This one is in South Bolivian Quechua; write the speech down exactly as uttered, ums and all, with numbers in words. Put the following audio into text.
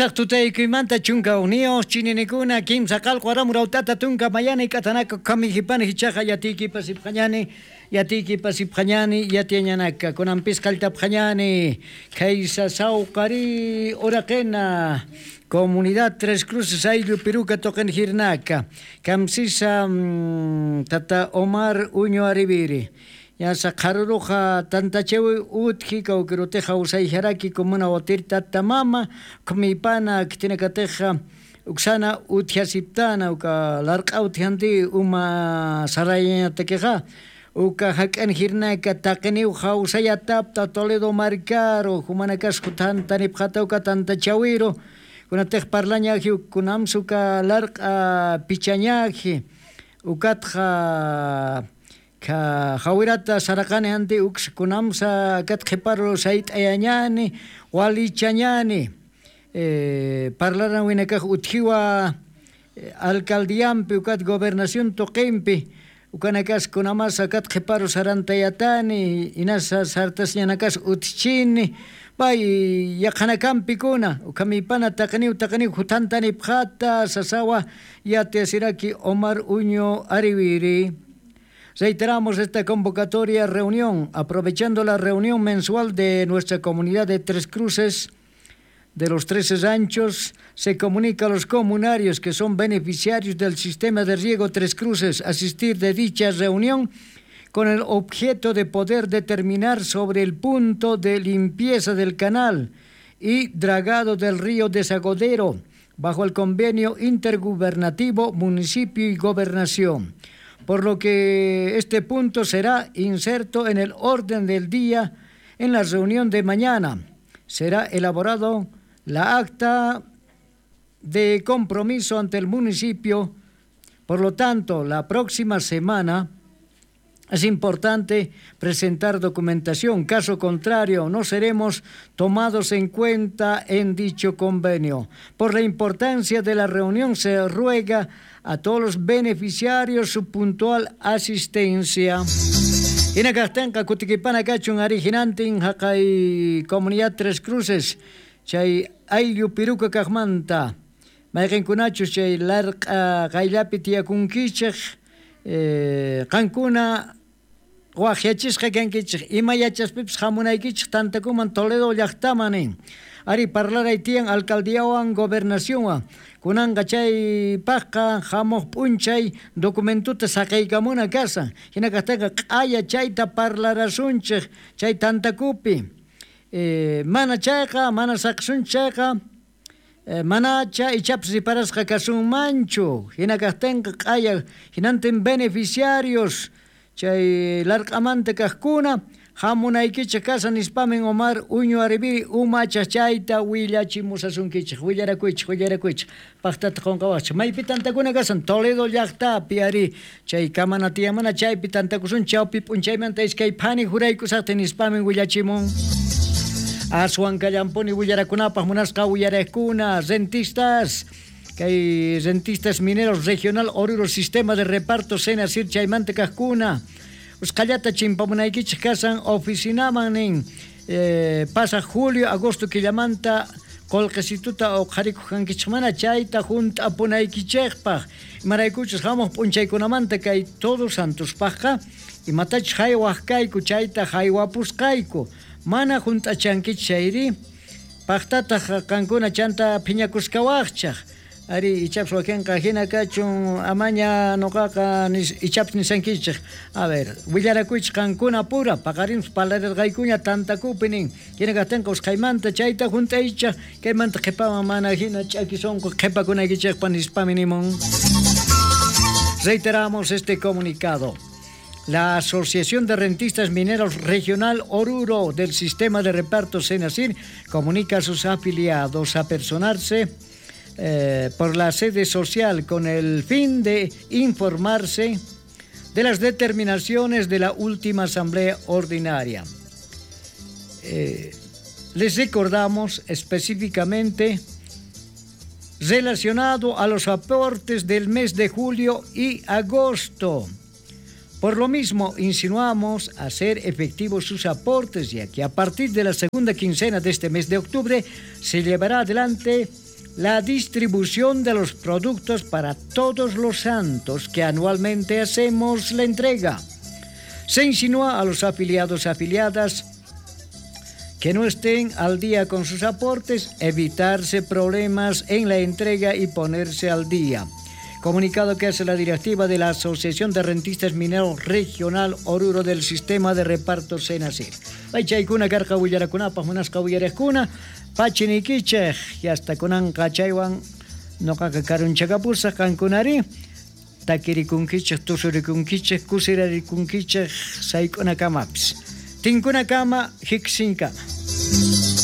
Pusaq tutaykuymanta chunka hukniyuq chininikuna kimsa qalqu aramurautata tunka mayani k'atanaka kamijipani hichaqa yatiykipas ipqañani yatiykipas ipqañani yatiañanaka kunanpis qalltapqañani kaysa sawqari uraqena Comunidad Tres Cruces ayllu Piruka toqen jirnaka kamsisa mm, tata Omar Uño Ariviri Yasa qharuruqa tantachewi utji kawkiruteja usayjaraki comuna watir tata mama kmipana ktinakateja uksana utjasiptana uka larq'a utjanti uma sarayañatakiqa uka hak'an jirnaka taqiniw hawsayatapta Toledo Marcaro humanakasqu tantanipqata uka tantachawiro kunatej parlañaji kunamsuka larq'a pichañaji ukatqa ka jawirata saraqani anti uks kunamsa kat qhiparo sayt'ayañani walichañani eh, parlaran winakaj utjiwa eh, alcaldiampi ukat gobernación toqimpi ukanakas kunamasa kat qhiparo sarantayatani inasa sartasñanakas utchini bay yaqhanakanpikuna ukamipana taqaniw taqaniw jutantani pjata sasawa yatiasiraki Omar Uño Ariviri. Reiteramos esta convocatoria reunión, aprovechando la reunión mensual de nuestra comunidad de Tres Cruces, de los Trece Ranchos, se comunica a los comunarios que son beneficiarios del sistema de riego Tres Cruces asistir de dicha reunión con el objeto de poder determinar sobre el punto de limpieza del canal y dragado del río Desagodero, bajo el convenio intergubernativo municipio y gobernación. Por lo que este punto será inserto en el orden del día en la reunión de mañana. Será elaborado la acta de compromiso ante el municipio. Por lo tanto, la próxima semana es importante presentar documentación. Caso contrario, no seremos tomados en cuenta en dicho convenio. Por la importancia de la reunión, se ruega a todos los beneficiarios su puntual asistencia. Hinakaqtinqa kutikipana kachun arijinantin haqay Comunidad Tres Cruces chay ayllu Piruka kaqmanta mayqinkunachus chay larq'a qayllapi tiyakunkichik eh, qankuna waqyachisqa kankichik ima yachaspipis hamunaykichik tantakuman Toledo llaqtaman nin ari parlaray tiyan alcaldiawan gobernacionwan kunanqa chay paqqa hamuq p'unchay documentuta saqaykamuna kasan hinakaqtaqa q'aya chayta parlarasunchik chay tantakupi eh, mana chayqa mana saqasunchik chayqa eh, manacha ichapas riparasqa kasunmanchu hinakaqtinqa q'aya hinantin beneficiarios chay larq'amanta kaqkuna hamunaykichik kasan nispamin Omar Uño Ariviri umacha chayta willachimusasunkichik willarakuychik willarakuychik paqtata qunqawaqchik maypi tantakuna kasan Toledo llaqtapi ari chay kamana tiyamana chaypi tantakusun chawpi p'unchaymanta iskay phani juraykusaqtin nispamin willachimun aswan kallampuni willarakunapaq munasqa willaraqkuna rentistas kay rentistas mineros regional Oruro sistema de reparto Senasir chaymanta kaqkuna usqallata chimpamunaykichik kasan oficinaman nin eh, pasa julio agosto killamanta qullqisituta uqharikuq mana chayta hunt'apunaykichikpaq imaraykuchus hamuq p'unchaykunamanta kay Todos Santospaqqa imatachus haywaq kayku chayta haywapusqayku mana hunt'achankichik chayri paqtataq qankuna chanta phiñakuskawaqchaq ari ichapas wakinqa hina kachun amaña nuqaqa ichapas nisankichik a ver willarakuychik qankuna pura paqarinpas parlarirqaykuña tantakupi nin hina kaqtinqa usqhaymanta chayta hunt'aychik kaymanta qhipaman mana hina ch'aki sunqu qhipakunaykichikpa nispami nimun. Reiteramos este comunicado. La Asociación de Rentistas Mineros Regional Oruro del Sistema de Reparto Senasir comunica a sus afiliados a personarse Eh, por la sede social con el fin de informarse de las determinaciones de la última asamblea ordinaria. Eh, les recordamos específicamente relacionado a los aportes del mes de julio y agosto. Por lo mismo, insinuamos hacer efectivos sus aportes, ya que a partir de la segunda quincena de este mes de octubre se llevará adelante la distribución de los productos para todos los santos que anualmente hacemos la entrega. Se insinúa a los afiliados afiliadas que no estén al día con sus aportes, evitarse problemas en la entrega y ponerse al día. Comunicado que hace la directiva de la Asociación de Rentistas Mineros Regional Oruro del Sistema de Reparto Senacir. Chaykuna karqa willarakunapaj munasqa uyariqkuna pachinikichej hasta kunanqa chaywan noqaqa karunchakapusaq qankunari takirikunkichej tusurikunkichej kusirarikunkichej sayk'unakamapis. Tinkunakama, hiksinka.